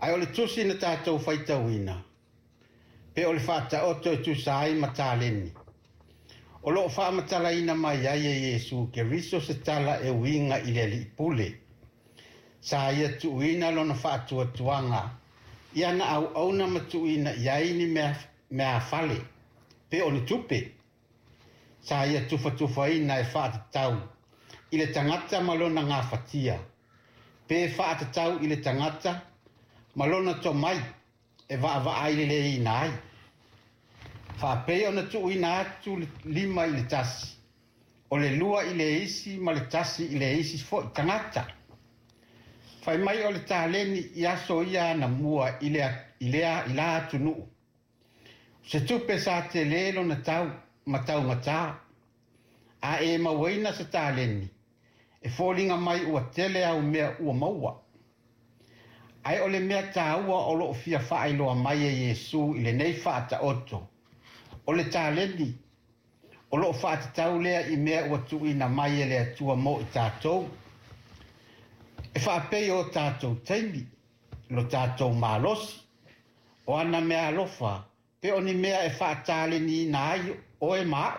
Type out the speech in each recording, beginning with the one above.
Ae o le tusi na tatou faitauina, pe o le faataoto e tusa ai ma taleni, o lo o faamatalaina mai ai e Iesu Keriso se tala e uiga i le Alii Pule. Sa ia tuuina lona faatuatuaga i ana auauna ma tuuina i ai ni meaafale, pe o ni tupe. Sa ia tufatufaina e faatatau i le tagata ma lona gafatia, pe faatatau i le tagata ma lona tomai e vaavaai leleiina ai. Faapei ona tuuina atu le 5 i le 1, o le 2 i le isi ma le 1 i le isi foi tagata. Fai mai o le taleni i aso ia anamua i la atunuu. O se tupe sa tele lona tau ma taugata. A e mauaina se taleni, e foliga mai ua tele au mea ua maua. Ae o le mea taua o loo fia faailoa mai e Iesu i lenei faataoto, o le taleni o loo faatatau lea i mea ua tuuina mai e le Atua mo i tatou. E faapei o tatou taimi, lo tatou malosi, o ana mea alofa, pe o ni mea e faataleniina ai oe ma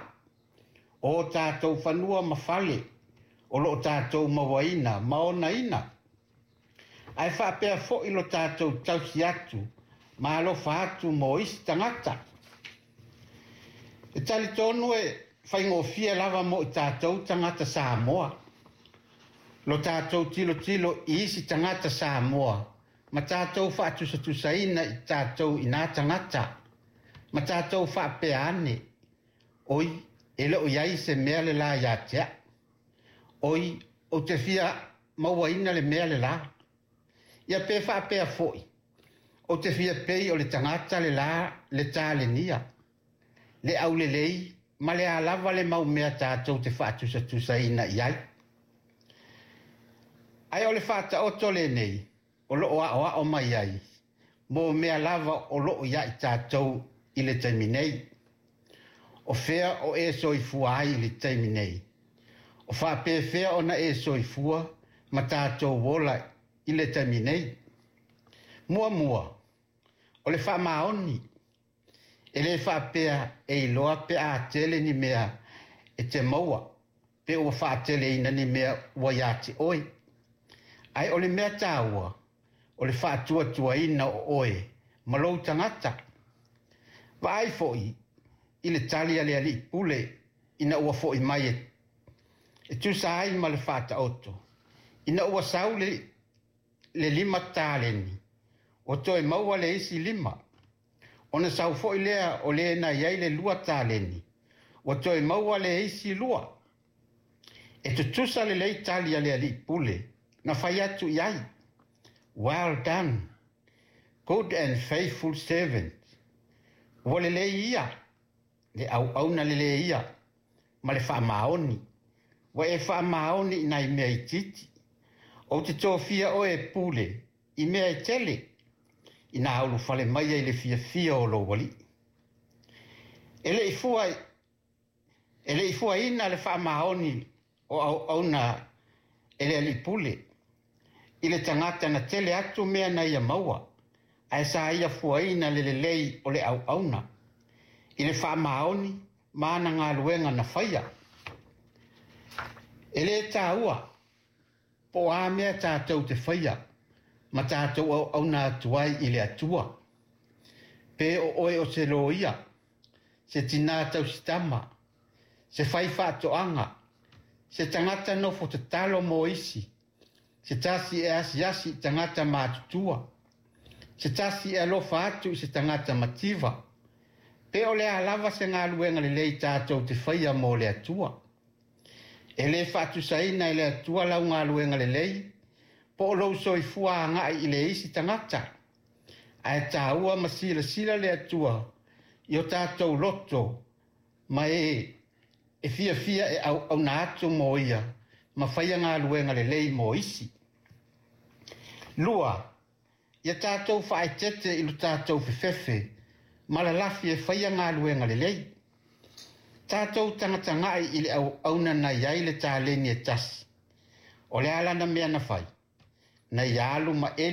au, o tatou fanua ma fale, o loo tatou mauaina ma onaina. Ae faapea foi lo tatou tausi atu ma alofa atu mo isi tagata. E talitonu e faigofie lava mo i tatou tagata Samoa, lo tatou tilotilo i isi tagata Samoa, ma tatou faatusatusaina i tatou i nā tagata, ma tatou faapea ane, oi, e le o i ai se mea le la ia te au. Oi, ou te fia mauaina le mea le la. Ia pe faapea foi, ou te fia pei o le tagata le la le talenia, le aulelei ma le alava le mau mea tatou te faatusatusaina i ai. Ae o le faataoto lenei, o loo aoao mai ai, mo mea lava o loo ia i tatou i le taimi nei. O fea o e soifua ai i le taimi nei. O faapefea ona e soifua ma tatou ola i le taimi nei. Muamua, o le faamaoni. E le faapea e iloa pe a tele ni mea e te maua, pe ua faateleina ni mea ua ia te oe. Ae o le mea taua, o le faatuatuaina o oe ma lou tagata. Vaai foi i le tali a le Alii Pule ina ua foi mai e tusa ai ma le faataoto. Ina ua sau le 5 taleni, o toe maua le isi 5. Ona sau foi lea o le na i ai le 2 taleni, ua toe maua le isi 2. E tutusa lelei tali a le Alii Pule na fai atu i ai. Well done, good and faithful servant. Ua lelei ia, le auauna lelei ia, ma le faamaoni. Ua e faamaoni i nai mea itiiti. Ou te tofia oe e pule i mea e tele, ina ulufale mai ai le fiafia o lou alii. E le i fuaina le faamaoni o auauna e le Alii Pule, i le tagata na tele atu mea na ia maua, ae sa ia fuaina le lelei o le auauna, i le faamaoni ma ana galuega na faia. E le taua, po o a mea tatou te faia, ma tatou auauna atu ai i le Atua. Pe o oe o se loia, se tinā tausitama, se fai faatoaga, se tagata nofo tatalo mo isi, se tasi e asiasi i tagata matutua, se tasi e alofa atu i se tagata mativa, pe o le a lava se galuega lelei tatou te faia mo le Atua. E le faatusaina e le Atua lau galuega lelei, po o lou soifua agai i le isi tagata. Ae taua ma silasila le Atua i o tatou loto ma e fiafia e auauna atu mo ia ma faia galuega lelei mo isi. 2, ia tatou faaetete i lo tatou fefefe ma lalafi e faia galuega lelei. Tatou tagatagai i le auauna na i ai le taleni e tasi. O le a lana mea na fai, na ia alu ma